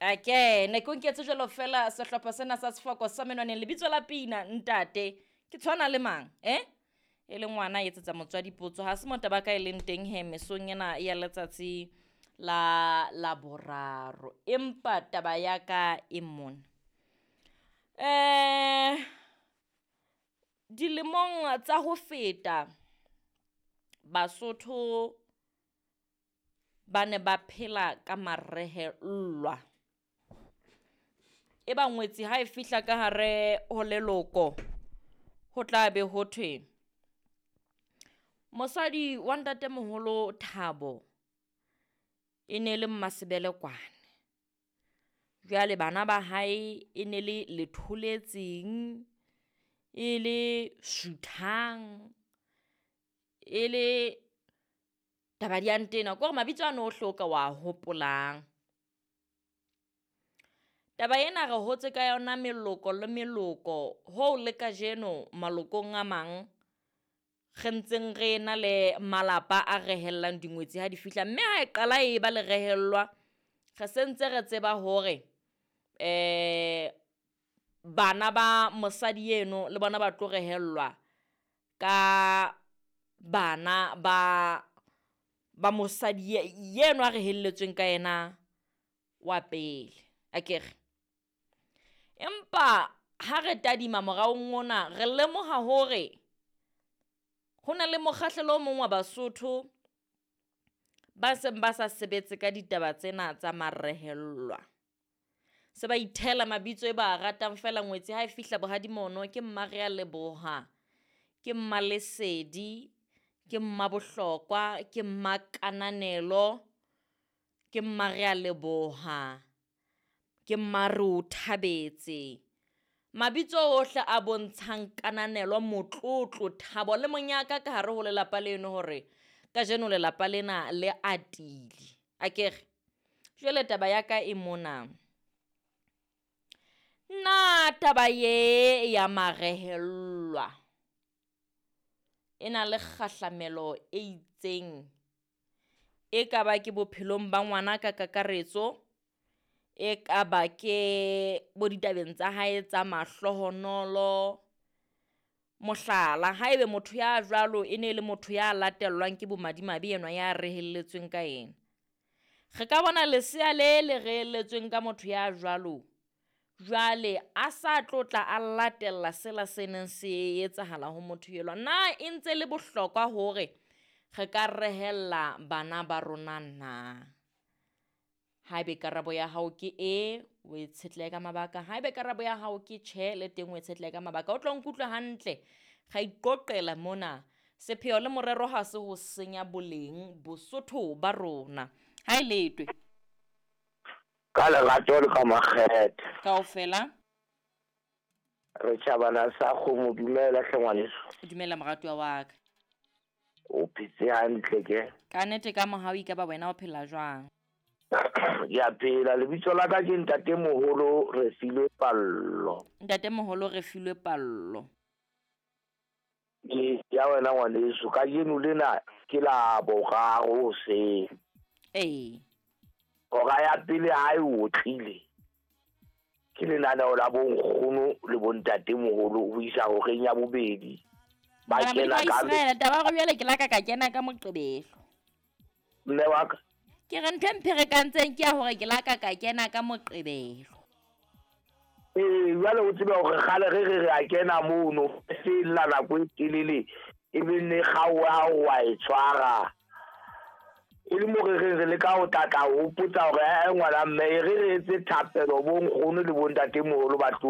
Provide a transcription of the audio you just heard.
Ake ne ke o nketse jwalo fela sehlopha sena sa sefoko sa menwaneng lebitso la pina ntate ke tshwana le mang eh e le ngwana a etsetsa motswadi potso ha se mo taba ka e leng teng he mesong ena ya letsatsi la Laboraro empa taba ya ka e mona. Dilemong tsa ho feta Basotho ba ne ba phela ka marehellwa. E ba ngwetsi ha e fihla ka hare ho leloko ho tla be ho thwe mosadi wa ntatemoholo Thabo e ne le Mmasebelekwane. Jwale bana ba hae e ne le Letholetseng, e le Suthang, e le taba di a ntena. Ke hore mabitso ano ohle o ka wa hopolang. Taba ena re hotse ka yona meloko le meloko hoo le kajeno malokong a mang re ntseng re na le malapa a rehellang dingwetsi ha di fihla. Mme ha e qala e ba le rehellwa, re sentse re tseba hore bana ba mosadi eno le bona ba tlo rehellwa ka bana ba mosadi yeno a rehelletsweng ka yena wa pele, akere. Empa ha re tadima moraong mona re lemoha hore ho na le mokgahlelo o mong wa Basotho ba seng ba sa sebetse ka ditaba tsena tsa marehellwa. Se ba ithela mabitso e ba ratang feela ngwetsi ha e fihla bohadi mono ke Mmarealeboha, ke Mmalesedi, ke Mmabohlokwa, ke Mmakananelo, ke Mmarealeboha, ke Mmareothabetse. Mabitso ohle a bontshang kananelo, motlotlo, thabo le monyaka ka hare ho lelapa leno hore kajeno lelapa lena le atile. Akere jwale taba ya ka e mona. Na taba ye ya marehellwa e na le kgahlamelo e itseng e ka ba ke bophelong ba ngwana ka kakaretso, e ka ba ke bo ditabeng tsa hae tsa mahlohonolo. Mohlala, haebe motho ya jwalo e ne le motho ya latellwang ke bomadimabe enwa ya rehelletsweng ka yena, re ka bona lesea le le rehelletsweng ka motho ya jwalo jwale a sa tlo tla a latella sela se neng se etsahala ho motho elwa. Na e ntse le bohlokwa hore re ka rehella bana ba rona na? Haebe karabo ya hao ke e, o e tshetlehe ka mabaka. Haebe karabo ya hao ke tjhe, le teng o e tshetlehe ka mabaka. O tlo nkutlwe hantle, ra iqoqela mona. Sepheo le morero ha se ho senya boleng Bosotho ba rona. Ha e letwe. Ka lerato le ka makgethe. Kaofela. Re tjhabana sa kgomo, dumela hle ngwaneso. Dumela moratuwa wa ka. O phetse hantle ke? Ka nnete ka mohau ekaba wena o phela jwang? Ke a phela, lebitso la ka ke ntatemoholo Refilwe Pallo. Ntatemoholo Refilwe Pallo. Ke ya wena ngwaneso, kajeno lena ke la boraro hoseng. Ee. Hora ya pele ha e otlile ke lenaneo la bonkgono le bontatemoholo ho isa horeng ya bobedi. Ba kena ka Israel, taba ya jwale ke la ka ka kena ka Moqebelo. Mme wa ka. Ke re ntho e mpherekantseng ke ya hore ke la ka ka kena ka Moqebelo. Ee, jwale o tsebe hore kgale re re re a kena mono, se lla nako e telele, e be nne kgaoha ha o wa e tshwara. E le mo re reng re leka ho tlatla ho hopotsa hore ngwana mme e re re etse thapelo bo nkgono le bontatemoholo ba tlo